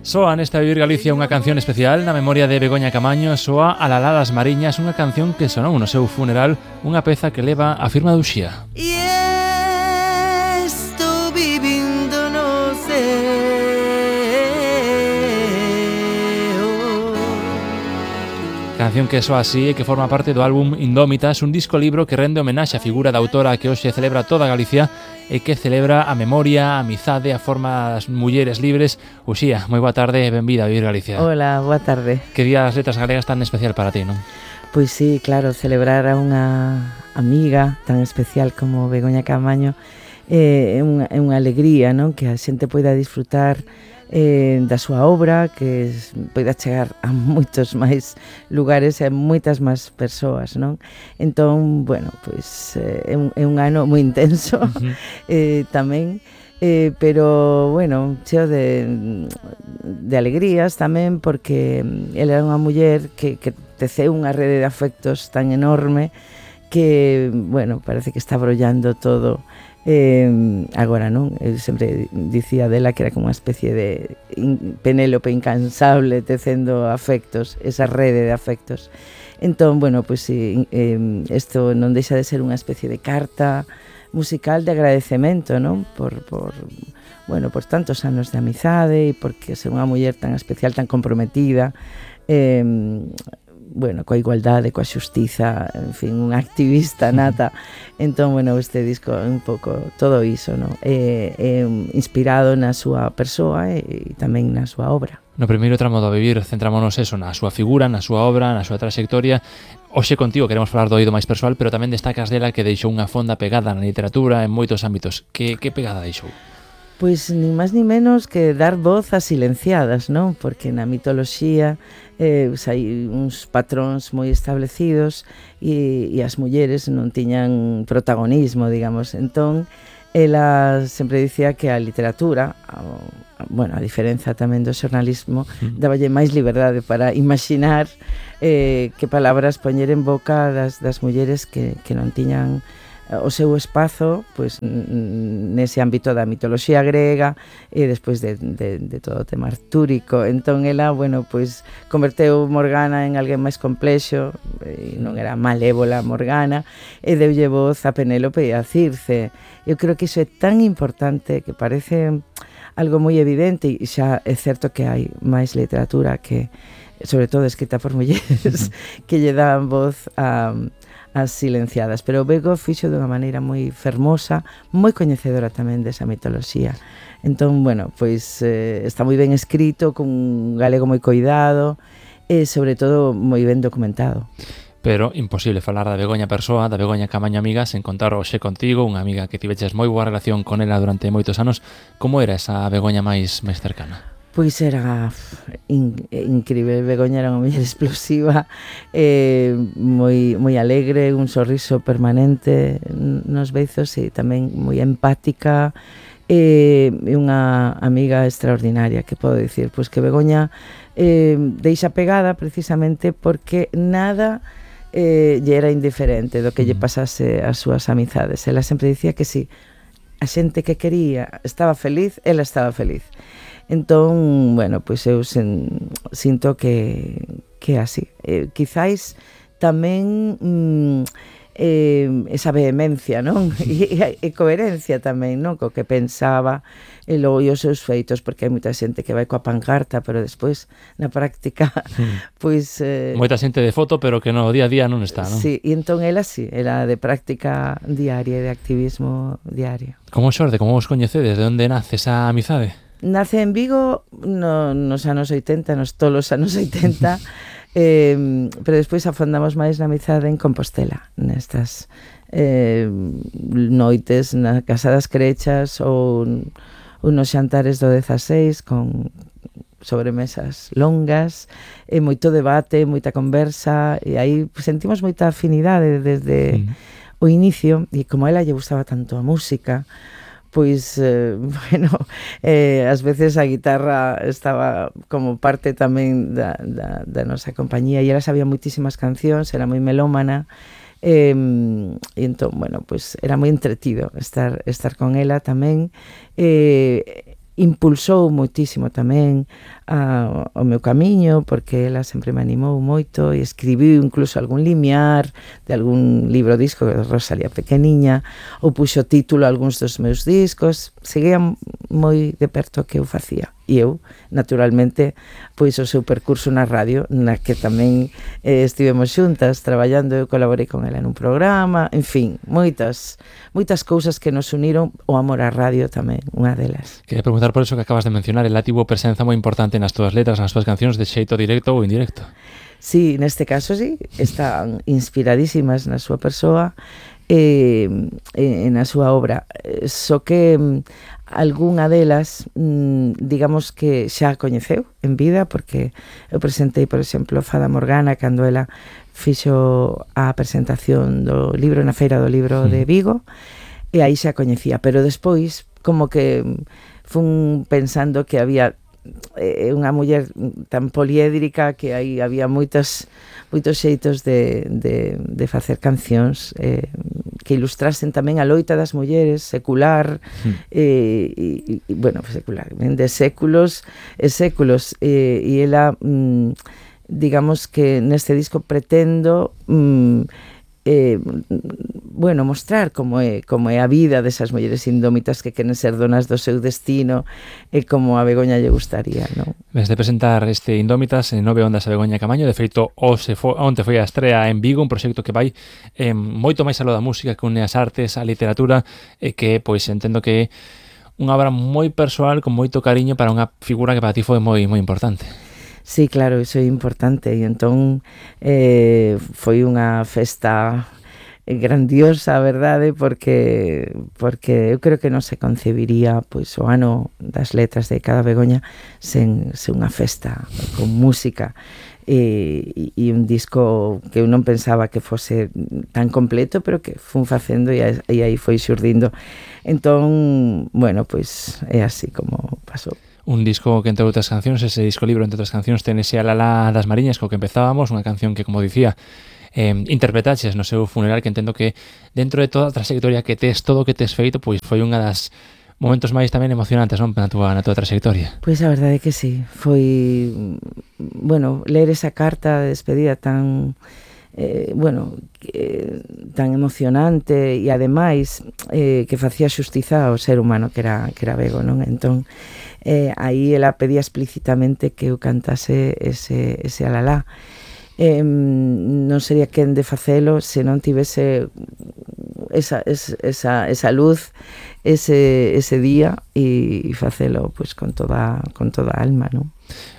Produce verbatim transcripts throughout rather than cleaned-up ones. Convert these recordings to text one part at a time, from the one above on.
Soa nesta Vivir Galicia unha canción especial na memoria de Begoña Camaño. Soa Alalá das Mariñas, unha canción que sonou no seu funeral, unha peza que leva a firma de Uxía. Y estou vivindo no ceo. Canción que soa así e que forma parte do álbum Indómitas, un disco libro que rende homenaxe á figura da autora que hoxe celebra toda Galicia e que celebra a memoria, a amizade, a forma das mulleres libres. Uxía, moi boa tarde e benvida a Vivir Galicia. Hola, boa tarde. Que día das letras galegas tan especial para ti, non? Pois sí, claro, celebrar a unha amiga tan especial como Begoña Camaño é eh, unha, é unha alegría, non? Que a xente poida disfrutar eh, da súa obra, que poida chegar a moitos máis lugares e a moitas máis persoas, non? Entón, bueno, pois eh, é, un, é un ano moi intenso, uh-huh. eh, tamén, eh, pero, bueno, cheo de, de alegrías tamén, porque ela era unha muller que, que teceu unha rede de afectos tan enorme que, bueno, parece que está brollando todo. Eh, agora non, eu sempre dicía dela que era como unha especie de in, Penélope incansable tecendo afectos, esa rede de afectos. Entón, bueno, pois si, eh, isto non deixa de ser unha especie de carta musical de agradecemento, non? Por, por, bueno, por tantos anos de amizade e porque ser unha muller tan especial, tan comprometida, eh, bueno, coa igualdade, coa xustiza, en fin, unha activista nata. Entón, bueno, este disco é un pouco todo iso, non? É, é inspirado na súa persoa e, e tamén na súa obra. No primeiro tramo do Vivir centrámonos eso, na súa figura, na súa obra, na súa trayectoria. Hoxe contigo queremos falar do oído máis persoal, pero tamén destacas dela que deixou unha fonda pegada na literatura en moitos ámbitos. Que, que pegada deixou? Pois ni máis ni menos que dar voz a silenciadas, non? Porque na mitoloxía eh, pues, hai uns patróns moi establecidos e, e as mulleres non tiñan protagonismo, digamos. Entón, ela sempre dicía que a literatura, a, bueno, a diferenza tamén do xornalismo, daballe máis liberdade para imaginar eh, que palabras poñer en boca das, das mulleres que, que non tiñan o seu espazo, pois, nese ámbito da mitoloxía grega e despois de, de, de todo o tema artúrico. Entón ela, bueno, pois converteu Morgana en alguén máis complexo, e non era malévola Morgana, e deulle voz a Penélope e a Circe. Eu creo que iso é tan importante que parece algo moi evidente, e xa é certo que hai máis literatura que, sobre todo escrita por mulleres, que lle dan voz a as silenciadas, pero o Bego fixo de unha maneira moi fermosa, moi coñecedora tamén desa mitoloxía. Entón, bueno, pois eh, está moi ben escrito, con un galego moi coidado e, sobre todo, moi ben documentado. Pero imposible falar da Begoña persoa, da Begoña Camaño amiga, sen contar hoxe contigo, unha amiga que tiveches moi boa relación con ela durante moitos anos. Como era esa Begoña máis máis cercana? Pois era in, incrível. Begoña era unha muller explosiva, eh, moi, moi alegre, un sorriso permanente nos beizos e tamén moi empática, e eh, unha amiga extraordinaria, que podo dicir, pois que Begoña eh, deixa pegada precisamente porque nada eh, lle era indiferente do que lle pasase as súas amizades. Ela sempre dicía que si a xente que quería estaba feliz, ela estaba feliz. Entón, bueno, pois eu sen, sinto que que é así. Eh, quizáis tamén mm, eh, esa vehemencia, non? E, e coherencia tamén, non? Co que pensaba e logo os seus feitos, porque hai moita xente que vai coa pancarta, pero despois na práctica mm. pois eh, moita xente de foto, pero que no día a día non está, non? Sí, e entón ela sí, era de práctica diaria, de activismo diario. Como xorde, como vos coñecedes? De onde nace esa amizade? Nace en Vigo no, nos anos oitenta, nos tolos anos oitenta, eh, pero despois afondamos máis na amizade en Compostela, nestas eh, noites na Casa das Crechas ou unos xantares do dezaseis con sobremesas longas, e moito debate, moita conversa, e aí sentimos moita afinidade desde mm. o inicio, e como a ela lle gustaba tanto a música, pois, eh, bueno, eh, ás veces a guitarra estaba como parte tamén da, da, da nosa compañía, e ela sabía moitísimas cancións, era moi melómana, eh, e entón, bueno, pois era moi entretido estar, estar con ela tamén, eh, impulsou moitísimo tamén a, o meu camiño, porque ela sempre me animou moito e escribiu incluso algún limiar de algún libro disco de Rosalía pequeniña, ou puxo título a algúns dos meus discos, seguía moi de perto o que eu facía. E eu, naturalmente, pois o seu percurso na radio, na que tamén eh, estivemos xuntas traballando, eu colaborei con ela nun programa, en fin, moitas moitas cousas que nos uniron, o amor á radio tamén, unha delas. Quería preguntar por eso que acabas de mencionar, el tivo presenza moi importante nas túas letras, nas túas cancións, de xeito directo ou indirecto. Sí, neste caso sí, están inspiradísimas na súa persoa e, e na súa obra, só que algunha delas, digamos que xa a coñeceu en vida, porque eu presentei, por exemplo, Fada Morgana cando ela fixo a presentación do libro na Feira do Libro de Vigo, e aí xa coñecía, pero despois como que fun pensando que había eh, unha muller tan poliédrica, que aí había moitos moitos xeitos de, de, de facer cancións eh, que ilustrasen tamén a loita das mulleres secular, mm. eh, e, e, bueno, secular, de séculos e séculos, eh, e ela mm, digamos que neste disco pretendo mm, eh, bueno, mostrar como é, como é a vida desas mulleres indómitas que queren ser donas do seu destino, e como a Begoña lle gustaría, non? Desde presentar este Indómitas en Nove Ondas a Begoña Camaño, de feito, hoxe foi, onte foi a estrea en Vigo, un proxecto que vai eh, moito máis aló da música, que une as artes, a literatura, e que, pois, entendo que é unha obra moi persoal, con moito cariño para unha figura que para ti foi moi moi importante. Sí, claro, iso é importante, e entón eh, foi unha festa grandiosa, a verdade, porque porque eu creo que non se concebiría pois o ano das letras de cada Begoña sen, sen unha festa con música e, e un disco que eu non pensaba que fose tan completo, pero que fun facendo e, e aí foi xurdindo. Entón, bueno, pois é así como pasou. Un disco que, entre outras cancións, ese disco libro, entre outras cancións, ten ese Alalá das Mariñas, co que empezábamos, unha canción que, como dicía, eh, interpretaches no seu funeral, que entendo que dentro de toda a trayectoria que tes, todo o que tes feito, pois foi unha das momentos máis tamén emocionantes, non, na túa, na túa trayectoria. Pois a verdade é que sí, foi, bueno, ler esa carta de despedida tan... Eh, bueno, eh, tan emocionante e ademais eh, que facía xustiza ao ser humano que era, que era Bego, non? Entón, eh, aí ela pedía explícitamente que eu cantase ese, ese Alalá. Eh, non sería quen de facelo se non tivese esa, esa, esa luz ese, ese día, e facelo pois, con toda con toda a alma, non?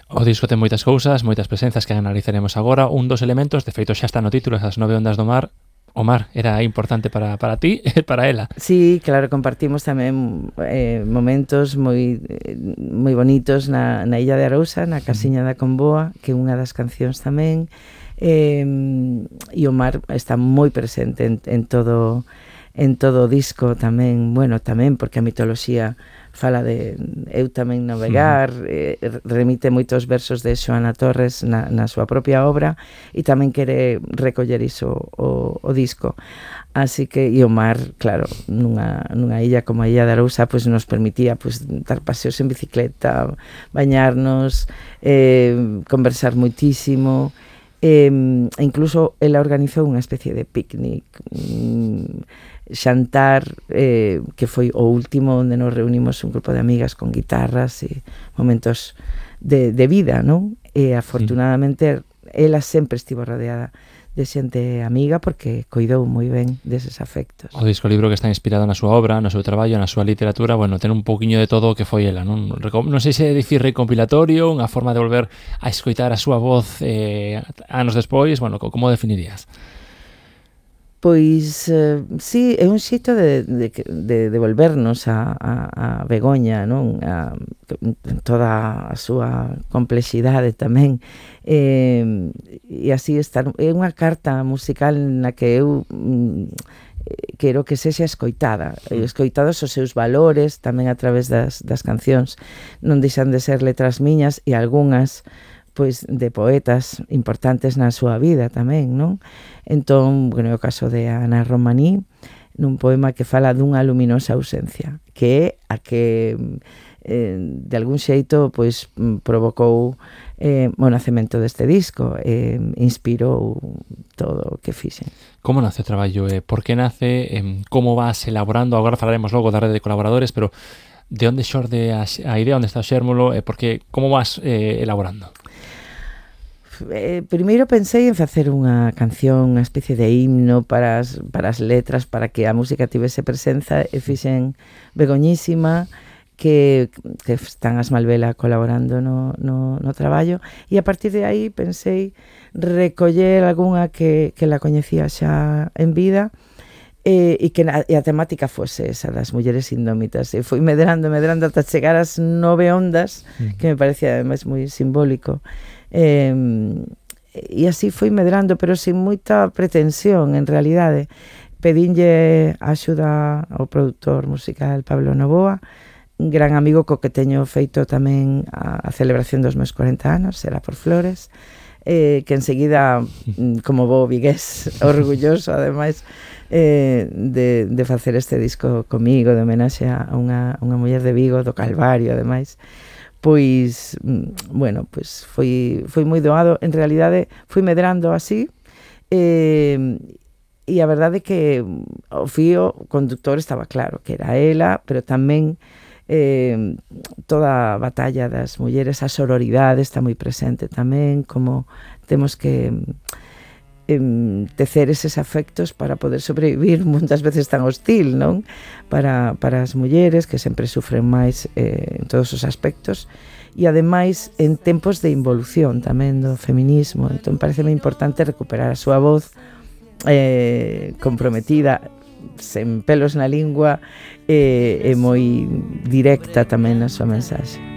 O disco ten moitas cousas, moitas presencias que analizaremos agora. Un dos elementos, de feito xa está no título, esas nove ondas do mar. O mar era importante para, para ti e para ela. Sí, claro, compartimos tamén eh, momentos moi moi bonitos na, na Illa de Arousa, na Casiña da Comboa, que é unha das cancións tamén, eh, e o mar está moi presente en, en todo en todo o disco tamén, bueno, tamén porque a mitoloxía fala de eu tamén navegar, uh-huh. eh, remite moitos versos de Xoana Torres na, na súa propia obra, e tamén quere recoller iso o, o disco. Así que, e o mar, claro, nunha, nunha illa como a Illa de Arousa, pues, nos permitía pues, dar paseos en bicicleta, bañarnos, eh, conversar moitísimo, eh, e incluso ela organizou unha especie de picnic, mm, xantar, eh, que foi o último onde nos reunimos un grupo de amigas con guitarras e momentos de, de vida, non? E afortunadamente sí. Ela sempre estivo rodeada de xente amiga porque coidou moi ben deses afectos. O disco libro que está inspirado na súa obra, no seu traballo, na súa literatura, bueno, ten un pouquiño de todo o que foi ela, non? Non sei se dicir recompilatorio, unha forma de volver a escoitar a súa voz eh, anos despois, bueno, como definirías? Pois, eh, sí, é un xeito de, de, de, de volvernos a, a, a Begoña, non? A, toda a súa complexidade tamén. Eh, e así estar, é unha carta musical na que eu mm, quero que sexa escoitada, escoitados os seus valores tamén a través das, das cancións. Non deixan de ser letras miñas e algunhas pois de poetas importantes na súa vida tamén, non? Entón, bueno, é o caso de Ana Romaní, nun poema que fala dunha luminosa ausencia, que é a que eh, de algún xeito pois provocou eh, o nacemento deste disco, eh, inspirou todo o que fixen. Como nace o traballo? Eh, por que nace? Eh, como vas elaborando? Agora falaremos logo da rede de colaboradores, pero de onde xorde a, a idea, onde está o xérmulo, eh, porque como vas eh, elaborando? Eh, primeiro pensei en facer unha canción, unha especie de himno para as, para as letras, para que a música tivese presenza, e fixen Begoñísima, que, que están as Malvela colaborando no, no, no traballo, e a partir de aí pensei recoller algunha que, que la coñecía xa en vida, e, e que na, e a temática fose esa das mulleres indómitas, e foi medrando, medrando ata chegar ás nove ondas, mm. que me parecía ademais moi simbólico, e, e así foi medrando, pero sin moita pretensión en realidade. Pedinlle axuda ao produtor musical Pablo Novoa, un gran amigo co que teño feito tamén a, a celebración dos meus corenta anos, Será por Flores, eh, que enseguida, como bo vigués, orgulloso ademais eh, de, de facer este disco comigo, de homenaxe a unha, unha muller de Vigo, do Calvario ademais, pois, bueno, pois foi, foi moi doado. En realidade fui medrando así, eh, e a verdade é que o fío conductor estaba claro que era ela, pero tamén eh, toda a batalla das mulleres, a sororidade está moi presente tamén, como temos que eh, tecer eses afectos para poder sobrevivir muitas veces tan hostil, non? Para, para as mulleres que sempre sufren máis eh, en todos os aspectos, e ademais en tempos de involución tamén do feminismo. Entón pareceme importante recuperar a súa voz eh, comprometida, sen pelos na lingua, e, e moi directa tamén na súa mensaxe.